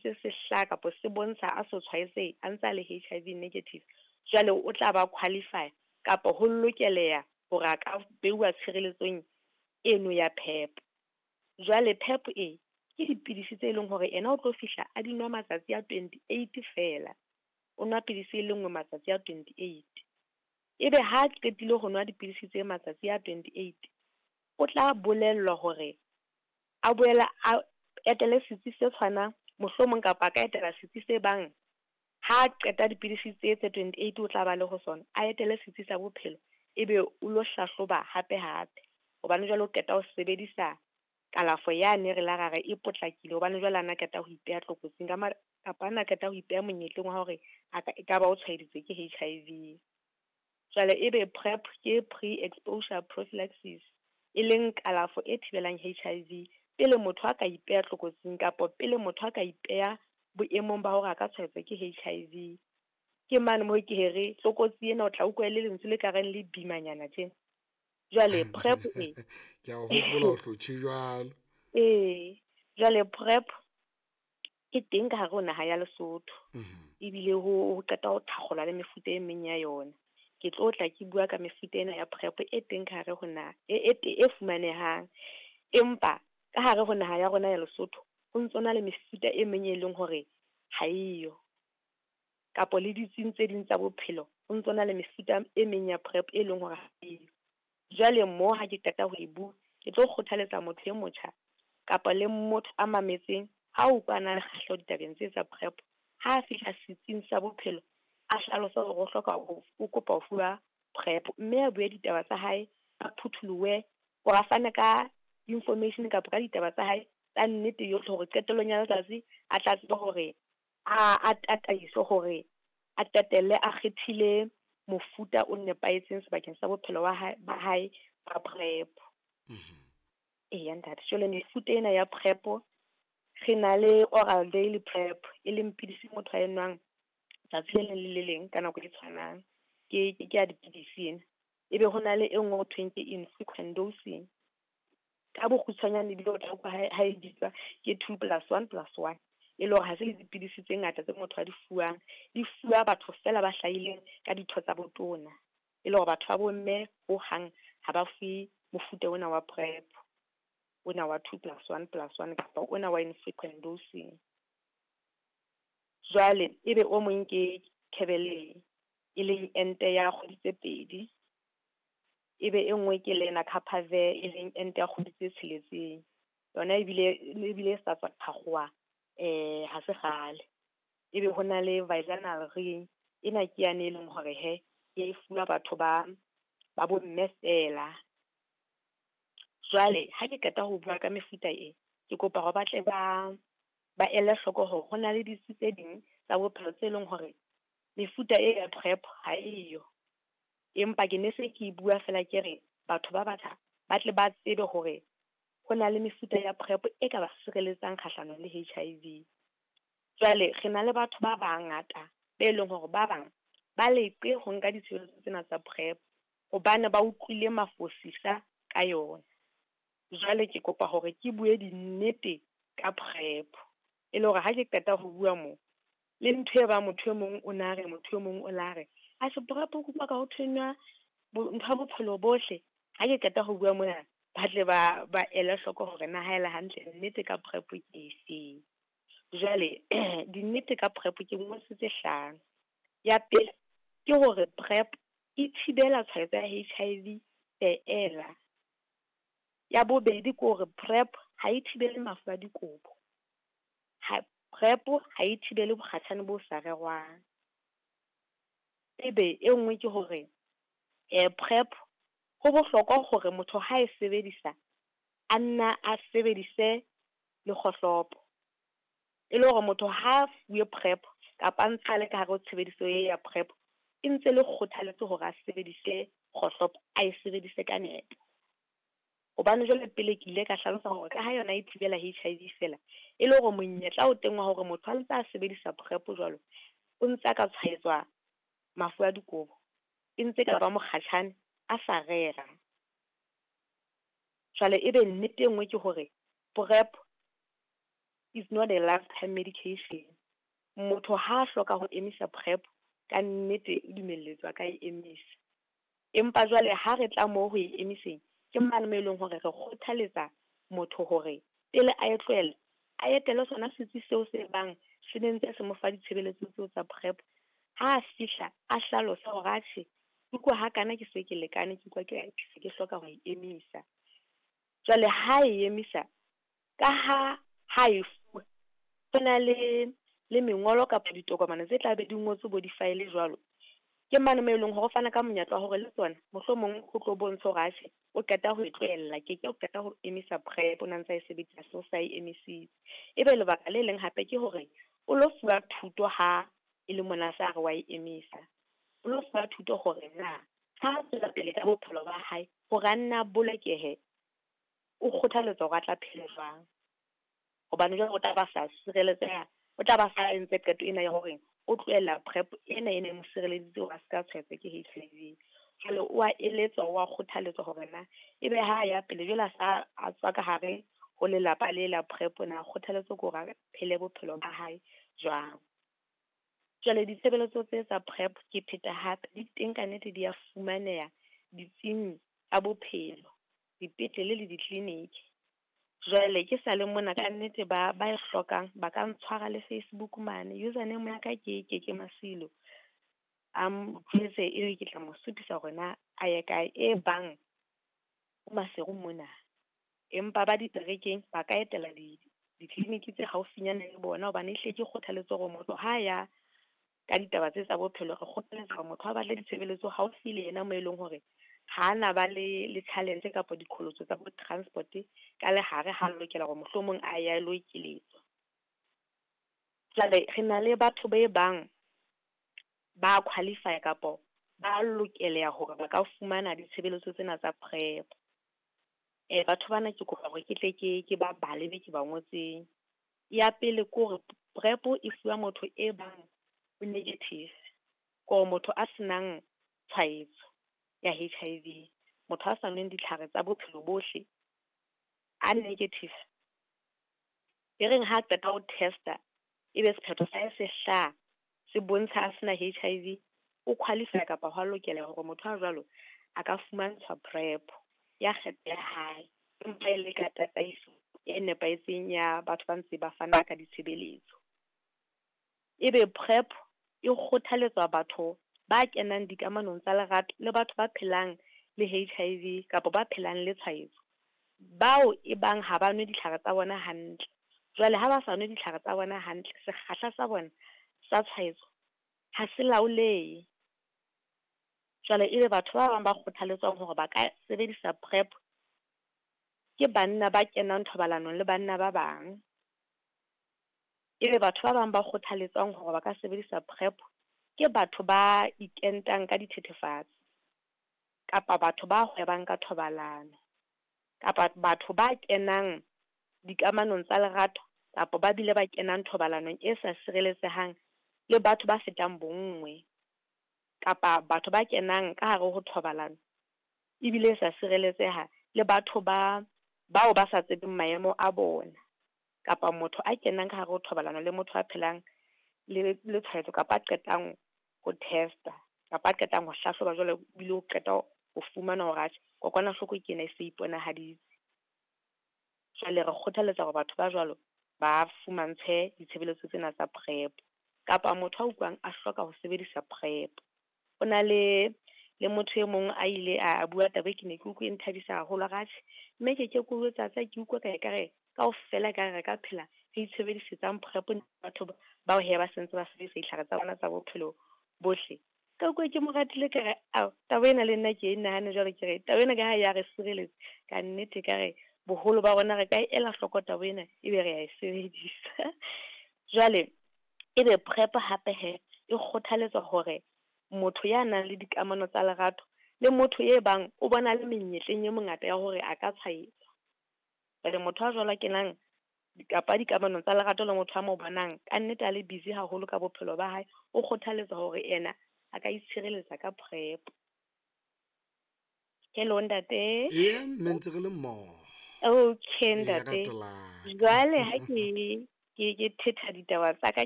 ntse se hlaha kapa se bontsha a so tshwaetsehe a ntse a le HIV negative, jwale o tla ba qualify kapa ho lokeleha hore a ka beuwa tshireletsong eno ya PEP. Jwale PEP e ke dipidisi tse leng hore ena o tlo fihla a di nwa matsatsi a 28 fela. O nwa pidisi e le nngwe matsatsi a 28. Ebe ha qetile ho nwa dipidisi tse matsatsi a 28, o tla bolellwa hore a boela a etele setsi se tshwanang mohlomong kapa a ka etela setsi se bang ha qeta dipidisi tse tse 28 o tla ba le ho sona, a etele setsi sa bophelo ebe o lo hlahloba hape hape. Hobane jwale o qeta ho sebedisa kalafo yane re la ra re e potlakile, hobane jwale ana qeta ho ipeha tlokotsing ka kapa ana qeta ho ipeha monyetleng wa hore a ka ekaba o tshwaeditswe ke HIV. Jwale ebe PrEP ke pre-exposure prophylaxis, e leng kalafo e thibelang HIV pele motho a ka ipeha tlokotsing kapa pele motho a ka ipeha boemong ba hore a ka tshwaetswa ke HIV. Ke mane moo ke here tlokotsi ena o tla utlwa le lentswe le ka reng le bimanyana tjena. Jwale PrEP e ke a hopola o hlotjhe jwalo. Ee, jwale PrEP ke teng ka hare ho naha ya Lesotho. Ebile ho qeta ho thakgolwa le mefuta e meng ya yona. Ke tlo tla ke bua ka mefuta ena ya PrEP e teng ka hare ho naha e fumanehang. Empa ka hare ho naha ya rona ya Lesotho ho ntso na le mefuta e meng e leng hore ha eyo. Kapa le ditsing tse ding tsa bophelo ho ntso na le mefuta e meng ya PrEP e leng hore ha eyo. Jwale mo ha ke qeta ho e bua, ke tlo kgothaletsa motho e motjha kapa le motho a mametseng ha o utlwa a na le kgahleho ditabeng tse tsa PrEP, ha fihla setsing sa bophelo a hlalose hore o hloka o kopa ho fuwa PrEP, mme a bue ditaba tsa hae, a phutholohe hore a fane ka information kapa ka ditaba tsa hae tsa nnete yohle hore qetellong ya letsatsi a tla tseba hore a tataiswe hore a qetelle a kgethile mofuta o nepahetseng sebakeng sa bophelo ba hae ba PrEP. Eya ntate, jwale mefuta ena ya PrEP re na le oral daily PrEP e leng pidisi motho a e nwang tsatsi le leng le le leng ka nako e tshwanang. Ke ya dipidisi ena. Ebe ho na le e nngwe ho thweng ke infrequent dosing. Ka bokgutshwanyane ebile o tla utlwa ha e bitswa ke 2+1+1. E le hore ha se le dipidisi tse ngata tse motho a di fuwang, di fuwa batho fela ba hlahileng ka ditho tsa botona. E le hore batho ba bomme ho hang ha ba fuwe mofuta ona wa PrEP, ona wa 2+1+1 kapa ona wa infrequent dosing. Jwale ebe o mong ke Kebeleng e leng ente ya kgwedi tse pedi. Ebe e nngwe ke Lenacapavir e leng ente ya kgwedi tse tsheletseng. Yona ebile e sa tswa thakgoha ha se kgale. Ebe ho na le vaginal ring, ena ke yane e leng hore he e fuwa batho ba bomme fela. Jwale ha ke qeta ho bua ka mefuta e, ke kopa hore ba tle ba ele hloko hore ho na le ditsi tse ding tsa bophelo tse leng hore mefuta e ya PrEP ha eyo. Empa ke ne se ke bua fela ke re batho ba batjha ba tle ba tsebe hore ho na le mefuta ya PrEP e ka ba sireletsang kgahlanong le HIV. Jwale re na le batho ba bangata be leng hore ba bang ba leqe ho nka ditshebeletso tsena tsa PrEP hobane ba utlwile mafosisa ka yona. Jwale ke kopa hore ke bue dinnete ka PrEP e le hore ha ke qeta ho bua mo le ntho e ba motho e mong o na re motho e mong o la re a se PrEP ho ka ho thwenywa ntho ya bophelo bohle. Ha ke qeta ho bua mona ba tle ba ele hloko hore na ha ele hantle nnete ka PrEP ke efeng. Jwale dinnete ka PrEP ke ngotse tse hlano. Ya pele ke hore PrEP e thibela tshwaetso ya HIV feela. Ya bobedi ke hore PrEP ha e thibele mafu a dikobo. PrEP ha e thibele bokgatjhane bo sa rerwang. Ebe e nngwe ke hore PrEP ho bohlokwa hore motho ha e sebedisa a nna a sebedise le kgohlopo. E le hore motho ha fuwe PrEP kapa a ntse a le ka hare ho tshebediso e ya PrEP, e ntse le kgothaletso hore a sebedise kgohlopo, a e sebedise ka nepo. Hobane jwale pele ke ile ka hlalosa hore ka ha yona e thibela HIV fela, e le hore monyetla o teng wa hore motho a ntse a sebedisa PrEP jwalo, o ntse a ka tshwaetswa mafu a dikobo, e ntse ka ba mokgatjhane a sa rera. Jwale ebe nnete e nngwe ke hore PrEP is not a lifetime medication. Motho ha a hloka ho emisa PrEP, ka nnete o dumelletswe a ka e emisa. Empa jwale ha re tla moo ho e emiseng, ke mane mo e leng hore re kgothaletsa motho hore pele a e tlohela, a etele sona setsi seo se bang se ne ntse se mo fa ditshebeletso tseo tsa PrEP. Ha a fihla a hlalose hore atjhe, ke utlwa hakana ke se ke lekane, ke utlwa ke se ke hloka ho e emisa. Jwale ha e emisa, ka ha ha e fuwa, ho na le mengolo kapa ditokomane tse tla be di ngotswe bo di-file jwalo. Ke mane mo e leng hore o fana ka monyetla wa hore le tsona mohlomong ho tlo bontsha hore atjhe o qeta ho e tlohella, ke ke o qeta ho emisa PrEP, o na ntsa e sebedisa so sa e emisitse. Ebe lebaka le leng hape ke hore o lo fuwa thuto ha e le mona sa re wa e emisa. O lo fuwa thuto hore na ha tswela pele ka bophelo ba hae hore a nna bolokehe, o kgothaletswa hore a tla phele jwang. Hobane jwale o tla ba sa sireletseha, o tla ba sa entse qeto ena ya hore o tlohella PrEP ena e neng mo sireleditse hore a ska tshwaetswa ke HIV. Jwale o a eletswa, o a kgothaletswa hore na ebe ha ya pele jwale a sa a tswa ka hare ho lelapa le la PrEP na kgothaletswa ke hore a phele bophelo ba hae jwang. Jwale ditshebeletso tse tsa PrEP ke pheta hape di teng ka nnete di a fumaneha ditsing tsa bophelo, dipetlele le di-clinic. Jwale ke sa le mona ka nnete ba e hlokang ba ka ntshwara le Facebook mane, username ya ka ke Keke Masilo. A jwetse ebe ke tla mo supisa hore na a ye kae e bang o Maseru mona. Empa ba diterekeng ba ka etela di-clinic tse haufinyana le bona, hobane ehlile ke kgothaletso hore motho ha ya ka ditaba tse tsa bophelo, re kgothaletsa hore motho a batle ditshebeletso haufi le yena mo e leng hore ha na ba le challenge kapa diqholotso tsa bo transport ka lehare ha lokela hore mohlomong a ya lo ekeletswa. Jwale re na le batho be bang ba qualify kapa ba lokeleha hore ba ka fumana ditshebeletso tsena tsa PrEP. Batho bana ke kopa hore ke tle ke ba bale be ke ba ngotseng. Ya pele ke hore PrEP e fuwa motho e bang o negative, kore motho a senang tshwaetso ya HIV, motho a sa nweng ditlhare tsa bophelo bohle, a negative. E reng ha qeta ho testa ebe sephetho sa hae se hlaha se bontsha a sena HIV, o qualify kapa hwa lokela hore motho a jwalo a ka fumantshwa PrEP ya kgetho ya hae, empa e le ka tataiso e nepahetseng ya batho ba ntse ba fana ka ditshebeletso. Ebe PrEP e kgothaletswa batho ba kenang dikamanong tsa lerato le batho ba phelang le HIV kapa ba phelang le tshwaetso, bao e bang ha ba nwe ditlhare tsa bona hantle. Jwale ha ba sa nwe ditlhare tsa bona hantle, sekgahla sa bona sa tshwaetso ha se laolehe. Jwale ebe batho ba bang ba kgothaletswang hore ba ka sebedisa PrEP ke banna ba kenang thobalanong le banna ba bang. Ebe batho ba bang ba kgothaletswang hore ba ka sebedisa PrEP ke batho ba ikentang ka dithethefatsi, kapa batho ba hwebang ka thobalano, kapa batho ba kenang dikamanong tsa lerato, kapa ba bile ba kenang thobalanong e sa sireletsehang le batho ba fetang bonngwe, kapa batho ba kenang ka hare ho thobalano ebile e sa sireletseha le batho ba bao ba sa tsebeng maemo a bona, kapa motho a kenang ka hare ho thobalano le motho a phelang le tshwaetso, kapa a qetang ho testa, kapa a qetang ho hlahloba jwale ebile o qeta ho fumana hore atjhe kokwanahloko ke ena e se iponahaditse. Jwale re kgothaletsa hore batho ba jwalo ba fumantshwe ditshebeletso tsena tsa PrEP, kapa motho a utlwang a hloka ho sebedisa PrEP. Ho na le motho e mong a ile a bua taba e ke ne ke utlwe e nthabisa haholo, a re atjhe mme ke ke o jwetsa ke utlwa ka ekare kaofela ekare re ka phela re itshebedisetsang PrEP batho bao he ba sentse ba sebedisa ditlhare tsa bona tsa bophelo bohle. Ka utlwa ke mo ratile ka re ao taba ena le nna ke e nahane jwale, ke re taba ena ka ha ya re sireletsa ka nnete, ka re boholo ba rona re ka ela hloko taba ena ebe re a e sebedisa. Jwale ebe PrEP hape he e kgothaletswa hore motho ya nang le dikamano tsa lerato le motho e bang o bona le menyetleng e mengata ya hore a ka tshwaetswa. Jwale motho a jwalo a kenang kapa dikamanong tsa lerato le motho a mo bonang ka nnete a le busy haholo ka bophelo ba hae, o kgothaletswa hore yena a ka itshireletsa ka PrEP. Hello ntate. Ee, mme ntse re le mmoho. Okay ntate. Jwale ha ke Ke thetha ditaba tsa ka.